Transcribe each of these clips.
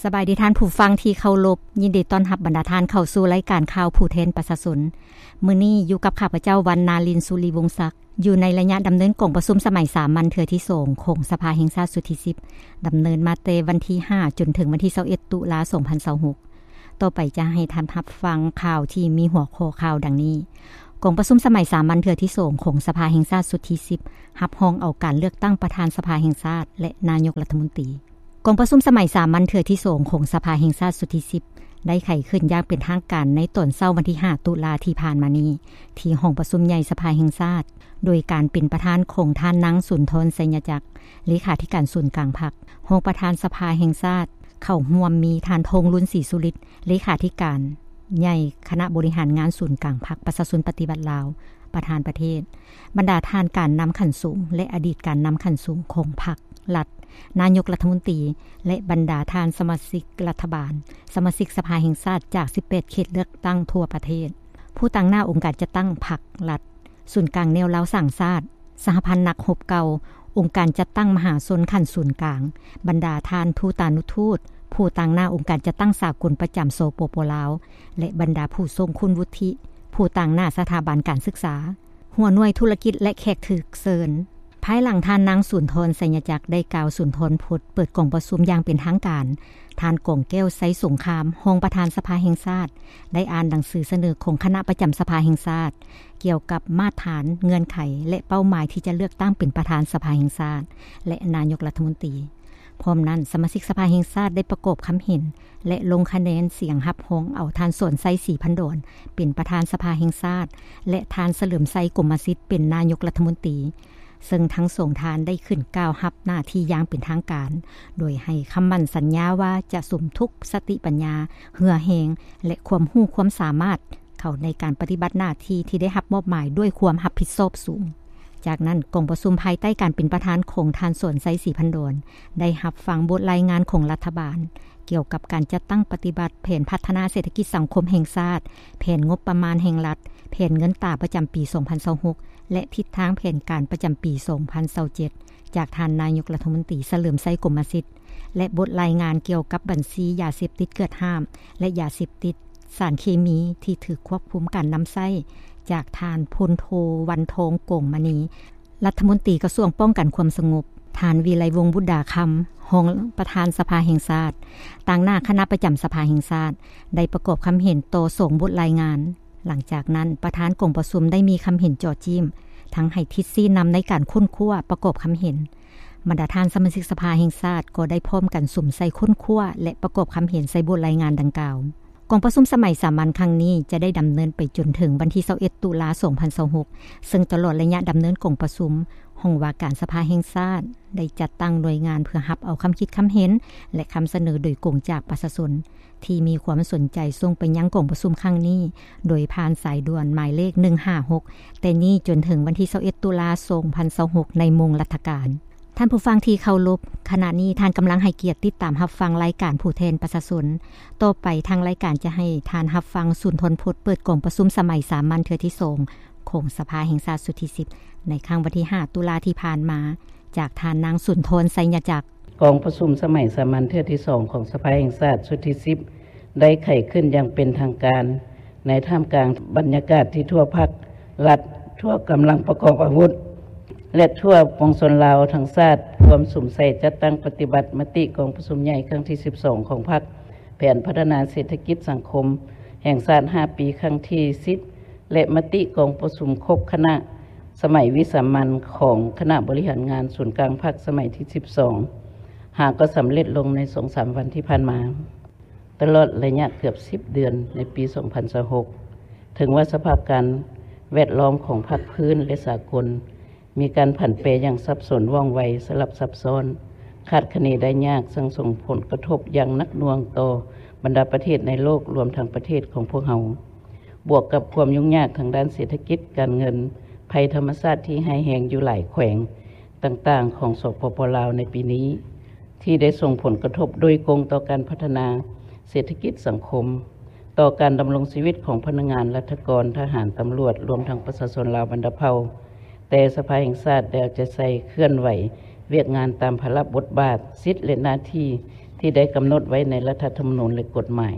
ສະບາຍດີທ່ານຜູ້ຟັງທີ່ເຄົາລົບ, ຍິນດີຕ້ອນຮັບບັນດາທ່ານເຂົ້າສູ່ລາຍການຂ່າວຜູ້ແທນປະຊາຊົນ. ມື້ນີ້ຢູ່ກັບຂ້າພະເຈົ້າ ວັນນາລິນ ສຸລິວົງສັກ. ຢູ່ໃນໄລຍະດຳເນີນກອງປະຊຸມສະໄໝສາມັນເທື່ອທີສອງຂອງສະພາແຫ່ງຊາດຊຸດທີສິບ ດຳເນີນມາແຕ່ວັນທີຫ້າຈົນເຖິງວັນທີຊາວເອັດ ຕຸລາ ສອງພັນຊາວຫົກ. ຕໍ່ໄປຈະໃຫ້ທ່ານຮັບຟັງຂ່າວທີ່ມີຫົວຂໍ້ຂ່າວດັ່ງນີ້. ກອງປະຊຸມສະໄໝສາມັນເທື່ອທີສອງຂອງສະພາແຫ່ງຊາດຊຸດທີສິບ ຮັບຮອງເອົາການເລືອກຕັ້ງປະທານສະພາແຫ່ງຊາດ ແລະ ນາຍົກລັດຖະມົນຕີ. ກອງປະຊຸມສະໄໝສາມັນເທື່ອທີສອງຂອງສະພາແຫ່ງຊາດຊຸດທີສິບ ໄດ້ໄຂຂຶ້ນຢ່າງເປັນທາງການໃນຕອນເຊົ້າວັນທີຫ້າ ຕຸລາທີ່ຜ່ານມານີ້ ທີ່ຫ້ອງປະຊຸມໃຫຍ່ສະພາແຫ່ງຊາດ ໂດຍການເປັນປະທານຂອງທ່ານນາງ ສຸນທອນ ໄຊຍະຈັກ ເລຂາທິການສູນກາງພັກ, ຮອງປະທານສະພາແຫ່ງຊາດ ເຂົ້າຮ່ວມມີທ່ານ ທອງລຸນ ສີສຸລິດ ເລຂາທິການໃຫຍ່ຄະນະບໍລິຫານງານສູນກາງພັກປະຊາຊົນປະຕິວັດລາວ ປະທານປະເທດ, ບັນດາທ່ານການນຳຂັ້ນສູງ ແລະ ອະດີດການນຳຂັ້ນສູງຂອງພັກ, ລັດ, ນາຍົກລັດຖະມົນຕີ ແລະ ບັນດາທ່ານສະມາຊິກລັດຖະບານ, ສະມາຊິກສະພາແຫ່ງຊາດຈາກສິບແປດເຂດເລືອກຕັ້ງທົ່ວປະເທດ, ຜູ້ຕາງໜ້າອົງການຈັດຕັ້ງພັກ, ລັດ, ສູນກາງແນວລາວສ້າງຊາດ, ສະຫະພັນນັກຮົບເກົ່າ, ອົງການຈັດຕັ້ງມະຫາຊົນຂັ້ນສູນກາງ, ບັນດາທ່ານທູຕານຸທູດ, ຜູ້ຕາງໜ້າອົງການຈັດຕັ້ງສາກົນປະຈຳ ສປປ ລາວ ແລະ ບັນດາຜູ້ຊົງຄຸນວຸດທິ, ຜູ້ຕາງໜ້າສະຖາບັນການສຶກສາ, ຫົວໜ່ວຍທຸລະກິດ ແລະ ແຂກຖືກເຊີນ. ພາຍຫຼັງທ່ານນາງ ສຸນທອນ ໄຊຍະຈັກ ໄດ້ກ່າວສຸນທອນພົດເປີດກອງປະຊຸມຢ່າງເປັນທາງການ, ທ່ານ ກອງແກ້ວ ໄຊສົງຄາມ ຮອງປະທານສະພາແຫ່ງຊາດ ໄດ້ອ່ານໜັງສືສະເໜີຂອງຄະນະປະຈຳສະພາແຫ່ງຊາດ ກ່ຽວກັບມາດຖານ, ເງື່ອນໄຂ ແລະ ເປົ້າໝາຍທີ່ຈະເລືອກຕັ້ງເປັນປະທານສະພາແຫ່ງຊາດ ແລະ ນາຍົກລັດຖະມົນຕີ. ພ້ອມນັ້ນ, ສະມາຊິກສະພາແຫ່ງຊາດໄດ້ປະກອບຄຳເຫັນ ແລະ ລົງຄະແນນສຽງຮັບຮອງເອົາທ່ານ ສອນໄຊ ສີພັນດອນ ເປັນປະທານສະພາແຫ່ງຊາດ ແລະ ທ່ານ ສະເຫຼີມໄຊ ກົມມະສິດ ເປັນນາຍົກລັດຖະມົນຕີ, ເຊິ່ງທັງສອງທ່ານໄດ້ຂຶ້ນກ່າວຮັບໜ້າທີ່ຢ່າງເປັນທາງການ, ໂດຍໃຫ້ຄຳໝັ້ນສັນຍາວ່າຈະສຸມທຸກສະຕິປັນຍາ, ເຫື່ອແຮງ ແລະ ຄວາມຮູ້ຄວາມສາມາດ ເຂົ້າໃນການປະຕິບັດໜ້າທີ່ທີ່ໄດ້ຮັບມອບໝາຍດ້ວຍຄວາມຮັບຜິດຊອບສູງ. ຈາກນັ້ນ, ກອງປະຊຸມພາຍໃຕ້ການເປັນປະທານຂອງທ່ານ ສອນໄຊ ສີພັນດອນ ໄດ້ຮັບຟັງບົດລາຍງານຂອງລັດຖະບານ ກ່ຽວກັບການຈັດຕັ້ງປະຕິບັດແຜນພັດທະນາເສດຖະກິດສັງຄົມແຫ່ງຊາດ, ແຜນງົບປະມານແຫ່ງລັດ, ແຜນເງິນຕາປະຈຳປີສອງພັນຊາວຫົກ ແລະ ທິດທາງແຜນການປະຈຳປີສອງພັນຊາວເຈັດ ຈາກທ່ານນາຍົກລັດຖະມົນຕີ ສະເຫຼີມໄຊ ກົມມະສິດ ແລະ ບົດລາຍງານກ່ຽວກັບບັນຊີຢາເສບຕິດເກືອດຫ້າມ ແລະ ຢາເສບຕິດ, ສານເຄມີທີ່ຖືກຄວບຄຸມການນຳໃຊ້ ຈາກທ່ານ ພົນໂທ ວັນທອງ ກອງມະນີ ລັດຖະມົນຕີກະຊວງປ້ອງກັນຄວາມສະຫງົບ, ທ່ານ ວິໄລວົງ ບຸດດາຄຳ ຮອງປະທານສະພາແຫ່ງຊາດ, ຕາງໜ້າຄະນະປະຈຳສະພາແຫ່ງຊາດ ໄດ້ປະກອບຄຳເຫັນຕໍ່ສອງບົດລາຍງານ. ຫຼັງຈາກນັ້ນ, ປະທານກອງປະຊຸມໄດ້ມີຄຳເຫັນເຈາະຈີ້ມ, ທັງໃຫ້ທິດຊີ້ນຳໃນການຄົ້ນຄວ້າປະກອບຄຳເຫັນ. ບັນດາທ່ານສະມາຊິກສະພາແຫ່ງຊາດກໍໄດ້ພ້ອມກັນສຸມໃສ່ຄົ້ນຄວ້າ ແລະ ປະກອບຄຳເຫັນໃສ່ບົດລາຍງານດັ່ງກ່າວ. ກອງປະຊຸມສະໄໝສາມັນຄັ້ງນີ້ຈະໄດ້ດຳເນີນໄປຈົນເຖິງວັນທີຊາວເອັດ ຕຸລາ ສອງພັນຊາວຫົກ ເຊິ່ງຕະຫຼອດໄລຍະດຳເນີນກອງປະຊຸມ, ຫ້ອງວ່າການສະພາແຫ່ງຊາດໄດ້ຈັດຕັ້ງໜ່ວຍງານເພື່ອຮັບເອົາຄຳຄິດຄຳເຫັນ ແລະ ຄຳສະເໜີໂດຍກົງຈາກປະຊາຊົນ ທີ່ມີຄວາມສົນໃຈສົ່ງໄປຍັງກອງປະຊຸມຄັ້ງນີ້ ໂດຍຜ່ານສາຍດ່ວນໝາຍເລກໜຶ່ງຫ້າຫົກ ແຕ່ນີ້ຈົນເຖິງວັນທີຊາວເອັດ ຕຸລາ ສອງພັນຊາວຫົກ ໃນໂມງລັດຖະການ. ທ່ານຜູ້ຟັງທີ່ເຄົາລົບ, ຂະນະນີ້ທ່ານກຳລັງໃຫ້ກຽດຕິດຕາມຮັບຟັງລາຍການຜູ້ແທນປະຊາຊົນ. ຕໍ່ໄປທາງລາຍການຈະໃຫ້ທ່ານຮັບຟັງສຸນທອນພົດເປີດກອງປະຊຸມສະໄໝສາມັນເທື່ອທີສອງຂອງສະພາແຫ່ງຊາດຊຸດທີສິບ ໃນຄັ້ງວັນທີຫ້າ ຕຸລາທີ່ຜ່ານມາ ຈາກທ່ານນາງ ສຸນທອນ ໄຊຍະຈັກ. ກອງປະຊຸມສະໄໝສາມັນເທື່ອທີສອງຂອງສະພາແຫ່ງຊາດຊຸດທີສິບ ໄດ້ໄຂຂຶ້ນຢ່າງເປັນທາງການ ໃນທ່າມກາງບັນຍາກາດທີ່ທົ່ວພັກ, ລັດ, ທົ່ວກຳລັງປະກອບອາວຸດ ແລະ ທົ່ວປວງຊົນລາວທັງຊາດ ພວມສຸມໃສ່ຈັດຕັ້ງປະຕິບັດມະຕິກອງປະຊຸມໃຫຍ່ຄັ້ງທີສິບສອງຂອງພັກ, ແຜນພັດທະນາເສດຖະກິດສັງຄົມແຫ່ງຊາດຫ້າປີຄັ້ງທີສິບ ແລະ ມະຕິກອງປະຊຸມຄົບຄະນະສະໄໝວິສາມັນຂອງຄະນະບໍລິຫານງານສູນກາງພັກສະໄໝທີສິບສອງ ຫາກໍສຳເລັດລົງໃນສອງສາມວັນທີ່ຜ່ານມາ. ຕະຫຼອດໄລຍະເກືອບສິບເດືອນໃນປີສອງພັນຊາວຫົກ ເຖິງວ່າສະພາບການແວດລ້ອມຂອງພາກພື້ນ ແລະ ສາກົນ ມີການຜັນແປຢ່າງສັບສົນ, ວ່ອງໄວ, ສະຫຼັບຊັບຊ້ອນ, ຄາດຄະເນໄດ້ຍາກ, ຊ່າງສົ່ງຜົນກະທົບຢ່າງໜັກໜ່ວງຕໍ່ບັນດາປະເທດໃນໂລກ, ລວມທັງປະເທດຂອງພວກເຮົາ, ບວກກັບຄວາມຫຍຸ້ງຍາກທາງດ້ານເສດຖະກິດ, ການເງິນ, ໄພທຳມະຊາດທີ່ຮ້າຍແຮງຢູ່ຫຼາຍແຂວງຕ່າງໆຂອງ ສປປ ລາວ ໃນປີນີ້ ທີ່ໄດ້ສົ່ງຜົນກະທົບໂດຍກົງຕໍ່ການພັດທະນາເສດຖະກິດສັງຄົມ, ຕໍ່ການດຳລົງຊີວິດຂອງພະນັກງານ, ລັດຖະກອນ, ທະຫານ, ຕຳຫຼວດ, ລວມທັງປະຊາຊົນລາວບັນດາເຜົ່າ. ແຕ່ສະພາແຫ່ງຊາດໄດ້ເອົາໃຈໃສ່ເຄື່ອນໄຫວວຽກງານຕາມພາລະບົດບາດ, ສິດ ແລະ ໜ້າທີ່ ທີ່ໄດ້ກຳນົດໄວ້ໃນລັດຖະທຳມະນູນ ແລະ ກົດໝາຍ,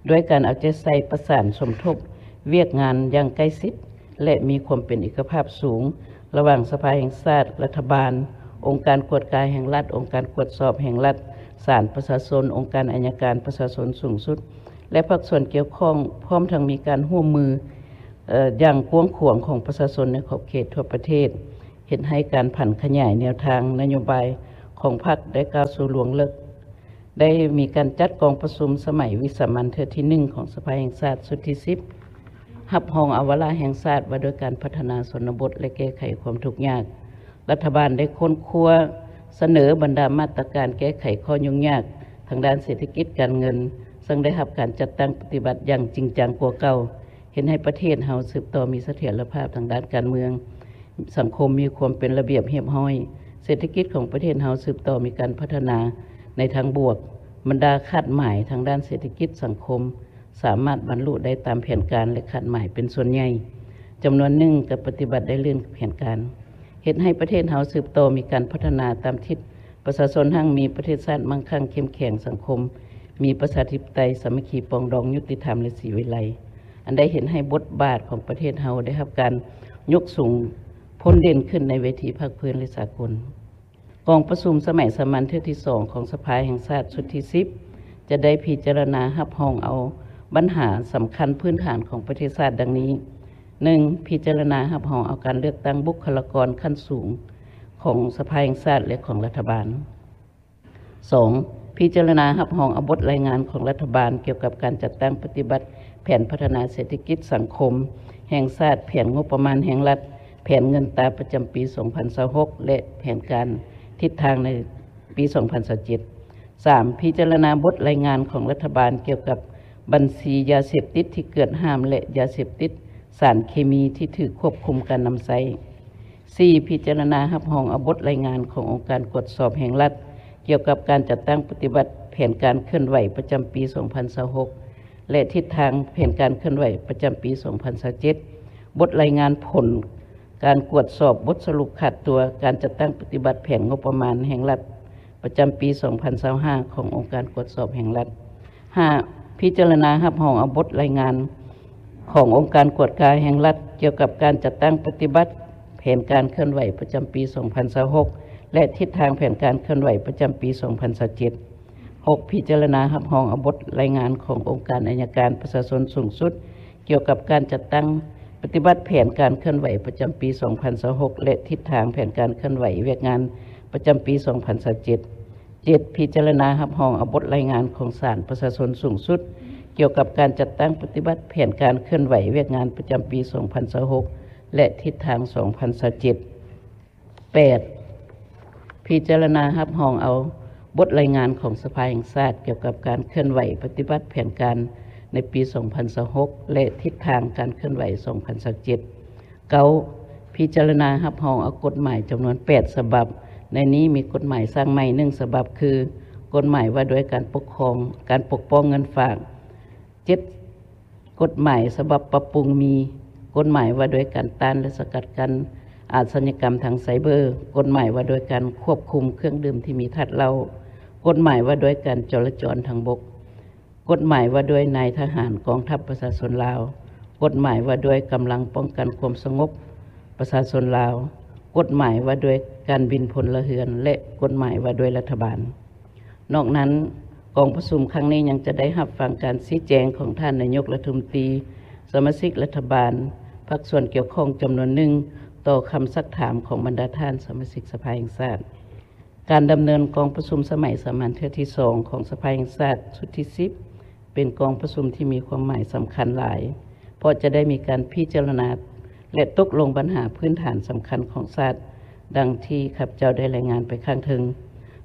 ດ້ວຍການເອົາໃຈໃສ່ປະສານສົມທົບວຽກງານຢ່າງໃກ້ຊິດ ແລະ ມີຄວາມເປັນເອກະພາບສູງ ລະຫວ່າງສະພາແຫ່ງຊາດ, ລັດຖະບານ, ອົງການກວດກາແຫ່ງລັດ, ອົງການກວດສອບແຫ່ງລັດ, ສານປະຊາຊົນ, ອົງການໄອຍະການປະຊາຊົນສູງສຸດ ແລະ ພາກສ່ວນກ່ຽວຂ້ອງ, ພ້ອມທັງມີການຮ່ວມມື ເອີ ຢ່າງກວ້າງຂວາງຂອງປະຊາຊົນໃນຂອບເຂດທົ່ວປະເທດ, ເຮັດໃຫ້ການຜັນຂະຫຍາຍແນວທາງນະໂຍບາຍຂອງພັກໄດ້ກ້າວສູ່ລວງເລິກ. ໄດ້ມີການຈັດກອງປະຊຸມສະໄໝວິສາມັນເທື່ອທີໜຶ່ງຂອງສະພາແຫ່ງຊາດຊຸດທີສິບ ຮັບຮອງເອົາວາລະແຫ່ງຊາດວ່າດ້ວຍການພັດທະນາຊົນນະບົດ ແລະ ແກ້ໄຂຄວາມທຸກຍາກ. ລັດຖະບານໄດ້ຄົ້ນຄວ້າສະເໜີບັນດາມາດຕະການແກ້ໄຂຂໍ້ຫຍຸ້ງຍາກທາງດ້ານເສດຖະກິດການເງິນ, ເຊິ່ງໄດ້ຮັບການຈັດຕັ້ງປະຕິບັດຢ່າງຈິງຈັງກວ່າເກົ່າ, ເຮັດໃຫ້ປະເທດເຮົາສືບຕໍ່ມີສະຖຽນລະພາບທາງດ້ານການເມືອງ, ສັງຄົມມີຄວາມເປັນລະບຽບຮຽບຮ້ອຍ, ເສດຖະກິດຂອງປະເທດເຮົາສືບຕໍ່ມີການພັດທະນາໃນທາງບວກ, ບັນດາຄາດໝາຍທາງດ້ານເສດຖະກິດສັງຄົມ ສາມາດບັນລຸໄດ້ຕາມແຜນການ ແລະ ຄາດໝາຍເປັນສ່ວນໃຫຍ່, ຈຳນວນໜຶ່ງກໍປະຕິບັດໄດ້ລື່ນແຜນການ, ເຮັດໃຫ້ປະເທດເຮົາສືບຕໍ່ມີການພັດທະນາຕາມທິດ, ປະຊາຊົນຮັ່ງມີ, ປະເທດຊາດມັ່ງຄັ່ງເຂັ້ມແຂງ, ສັງຄົມມີປະຊາທິປະໄຕ, ສາມັກຄີປອງດອງ, ຍຸຕິທຳ ແລະ ສີວິໄລ, ອັນໄດ້ເຮັດໃຫ້ບົດບາດຂອງປະເທດເຮົາໄດ້ຮັບການຍົກສູງພົ້ນເດັ່ນຂຶ້ນໃນເວທີພາກພື້ນ ແລະ ສາກົນ. ກອງປະຊຸມສະໄໝສາມັນເທື່ອທີສອງຂອງສະພາແຫ່ງຊາດຊຸດທີສິບ ຈະໄດ້ພິຈາລະນາຮັບຮອງເອົາບັນຫາສຳຄັນພື້ນຖານຂອງປະເທດຊາດດັ່ງນີ້: ໜຶ່ງ ພິຈາລະນາຮັບຮອງເອົາການເລືອກຕັ້ງບຸກຄະລາກອນຂັ້ນສູງຂອງສະພາແຫ່ງຊາດ ແລະ ຂອງລັດຖະບານ. ສອງ ພິຈາລະນາຮັບຮອງເອົາບົດລາຍງານຂອງລັດຖະບານກ່ຽວກັບການຈັດຕັ້ງປະຕິບັດແຜນພັດທະນາເສດຖະກິດສັງຄົມແຫ່ງຊາດ, ແຜນງົບປະມານແຫ່ງລັດ, ແຜນເງິນຕາປະຈຳປີສອງພັນຊາວຫົກ ແລະ ແຜນການທິດທາງໃນປີສອງພັນຊາວເຈັດ. ສາມ ພິຈາລະນາບົດລາຍງານຂອງລັດຖະບານກ່ຽວກັບບັນຊີຢາເສບຕິດທີ່ເກືອດຫ້າມ ແລະ ຢາເສບຕິດ, ສານເຄມີທີ່ຖືກຄວບຄຸມການນຳໃຊ້. ສີ່ ພິຈາລະນາຮັບຮອງເອົາບົດລາຍງານຂອງອົງການກວດສອບແຫ່ງລັດ ກ່ຽວກັບການຈັດຕັ້ງປະຕິບັດແຜນການເຄື່ອນໄຫວປະຈຳປີສອງພັນຊາວຫົກ ແລະ ທິດທາງແຜນການເຄື່ອນໄຫວປະຈຳປີສອງພັນຊາວເຈັດ, ບົດລາຍງານຜົນການກວດສອບບົດສະຫຼຸບຂາດຕົວການຈັດຕັ້ງປະຕິບັດແຜນງົບປະມານແຫ່ງລັດ ປະຈຳປີສອງພັນຊາວຫ້າ ຂອງອົງການກວດສອບແຫ່ງລັດ. ຫ້າ ພິຈາລະນາຮັບຮອງເອົາບົດລາຍງານຂອງອົງການກວດກາແຫ່ງລັດ ກ່ຽວກັບການຈັດຕັ້ງປະຕິບັດແຜນການເຄື່ອນໄຫວປະຈຳປີສອງພັນຊາວຫົກ ແລະ ທິດທາງແຜນການເຄື່ອນໄຫວປະຈຳປີສອງພັນຊາວເຈັດ. ຫົກ ພິຈາລະນາຮັບຮອງເອົາບົດລາຍງານຂອງອົງການໄອຍະການປະຊາຊົນສູງສຸດ ກ່ຽວກັບການຈັດຕັ້ງປະຕິບັດແຜນການເຄື່ອນໄຫວປະຈຳປີສອງພັນຊາວຫົກ ແລະ ທິດທາງແຜນການເຄື່ອນໄຫວວຽກງານປະຈຳປີສອງພັນຊາວເຈັດ. ເຈັດ ພິຈາລະນາຮັບຮອງເອົາບົດລາຍງານຂອງສານປະຊາຊົນສູງສຸດ ກ່ຽວກັບການຈັດຕັ້ງປະຕິບັດແຜນການເຄື່ອນໄຫວວຽກງານປະຈຳປີສອງພັນຊາວຫົກ ແລະ ທິດທາງສອງພັນຊາວເຈັດ. ແປດ ພິຈາລະນາຮັບຮອງເອົາບົດລາຍງານຂອງສະພາແຫ່ງຊາດກ່ຽວກັບການເຄື່ອນໄຫວປະຕິບັດແຜນການໃນປີສອງພັນຊາວຫົກ ແລະ ທິດທາງການເຄື່ອນໄຫວສອງພັນຊາວເຈັດ. ເກົ້າ ພິຈາລະນາຮັບຮອງເອົາກົດໝາຍຈຳນວນແປດສະບັບ, ໃນນີ້ມີກົດໝາຍສ້າງໃໝ່ໜຶ່ງສະບັບ ຄື ກົດໝາຍວ່າດ້ວຍການປົກຄອງ, ການປົກປ້ອງເງິນຝາກ. ເຈັດ ກົດໝາຍສະບັບປັບປຸງມີ ກົດໝາຍວ່າດ້ວຍການຕ້ານ ແລະ ສະກັດກັ້ນອາຊະຍາກຳທາງໄຊເບີ, ກົດໝາຍວ່າດ້ວຍການຄວບຄຸມເຄື່ອງດື່ມທີ່ມີທາດເຫຼົ້າ, ກົດໝາຍວ່າດ້ວຍການຈໍລະຈອນທາງບົກ, ກົດໝາຍວ່າດ້ວຍນາຍທະຫານກອງທັບປະຊາຊົນລາວ, ກົດໝາຍວ່າດ້ວຍກຳລັງປ້ອງກັນຄວາມສະຫງົບປະຊາຊົນລາວ, ກົດໝາຍວ່າດ້ວຍການບິນພົນລະເຮືອນ ແລະ ກົດໝາຍວ່າດ້ວຍລັດຖະບານ. ນອກນັ້ນ, ກອງປະຊຸມຄັ້ງນີ້ຍັງຈະໄດ້ຮັບຟັງການຊີ້ແຈງຂອງທ່ານນາຍົກລັດຖະມົນຕີ, ສະມາຊິກລັດຖະບານ, ພາກສ່ວນກ່ຽວຂ້ອງຈຳນວນໜຶ່ງ ຕໍ່ຄຳຊັກຖາມຂອງບັນດາທ່ານສະມາຊິກສະພາແຫ່ງຊາດ. ການດຳເນີນກອງປະຊຸມສະໄໝສາມັນເທື່ອທີສອງຂອງສະພາແຫ່ງຊາດຊຸດທີສິບ ເປັນກອງປະຊຸມທີ່ມີຄວາມໝາຍສຳຄັນຫຼາຍ, ເພາະຈະໄດ້ມີການພິຈາລະນາ ແລະ ຕົກລົງບັນຫາພື້ນຖານສຳຄັນຂອງຊາດ, ດັ່ງທີ່ຂ້າພະເຈົ້າໄດ້ລາຍງານໄປຂ້າງເທິງ.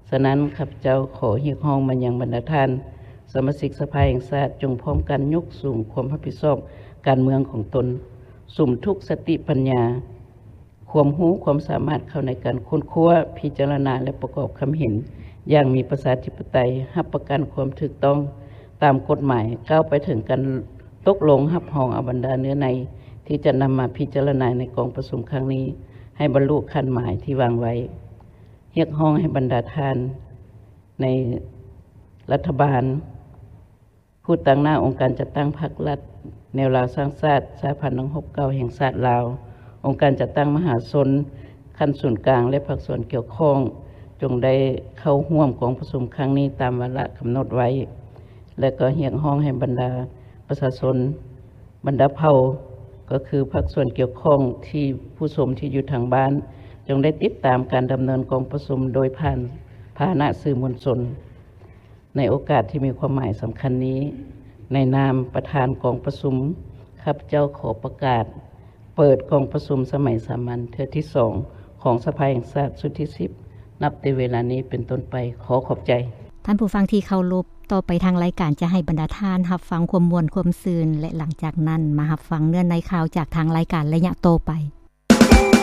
ສະນັ້ນ, ຂ້າພະເຈົ້າຂໍຮຽກຮ້ອງມາຍັງບັນດາທ່ານສະມາຊິກສະພາແຫ່ງຊາດ, ຈົ່ງພ້ອມກັນຍົກສູງຄວາມຮັບຜິດຊອບການເມືອງຂອງຕົນ, ສຸມທຸກສະຕິປັນຍາ, ຄວາມຮູ້ຄວາມສາມາດເຂົ້າໃນການຄົ້ນຄວ້າ, ພິຈາລະນາ ແລະ ປະກອບຄຳເຫັນຢ່າງມີປະຊາທິປະໄຕ, ຮັບປະກັນຄວາມຖືກຕ້ອງຕາມກົດໝາຍ, ກ້າວໄປເຖິງການຕົກລົງຮັບຮອງເອົາບັນດາເນື້ອໃນທີ່ຈະນຳມາພິຈາລະນາໃນກອງປະຊຸມຄັ້ງນີ້ ໃຫ້ບັນລຸຄາດໝາຍທີ່ວາງໄວ້. ຮຽກຮ້ອງໃຫ້ບັນດາທ່ານໃນ ລັດຖະບານ, ຜູ້ຕາງໜ້າອົງການຈັດຕັ້ງພັກລັດ, ແນວລາວສ້າງຊາດ, ສະຫະພັນນັກຮົບເກົ່າແຫ່ງຊາດລາວ, ອົງການຈັດຕັ້ງມະຫາຊົນຂັ້ນສູນກາງ ແລະ ພາກສ່ວນກ່ຽວຂ້ອງ ຈົ່ງໄດ້ເຂົ້າຮ່ວມກອງປະຊຸມຄັ້ງນີ້ຕາມວາລະກຳນົດໄວ້ ແລະ ກໍຮຽກຮ້ອງໃຫ້ບັນດາປະຊາຊົນ ບັນດາເຜົ່າ ກໍຄືພາກສ່ວນກ່ຽວຂ້ອງ ທີ່ຜູ້ຊົມທີ່ຢູ່ທາງບ້ານ ຈົ່ງໄດ້ຕິດຕາມການດຳເນີນກອງປະຊຸມໂດຍຜ່ານພາຫະນະສື່ມວນຊົນ. ໃນໂອກາດທີ່ມີຄວາມໝາຍສຳຄັນນີ້, ໃນນາມປະທານກອງປະຊຸມ, ຂ້າພະເຈົ້າຂໍປະກາດເປີດກອງປະຊຸມສະໄໝສາມັນເທື່ອທີສອງ ຂອງສະພາແຫ່ງຊາດຊຸດທີສິບ ນັບແຕ່ເວລານີ້ເປັນຕົ້ນໄປ. ຂໍຂອບໃຈ. ທ່ານຜູ້ຟັງທີ່ເຄົາລົບ, ຕໍ່ໄປທາງລາຍການຈະໃຫ້ບັນດາທ່ານຮັບຟັງຄວາມມ່ວນຄວາມຊື່ນ ແລະ ຫຼັງຈາກນັ້ນມາຮັບຟັງເນື້ອໃນຂ່າວຈາກທາງລາຍການໄລຍະຕໍ່ໄປ.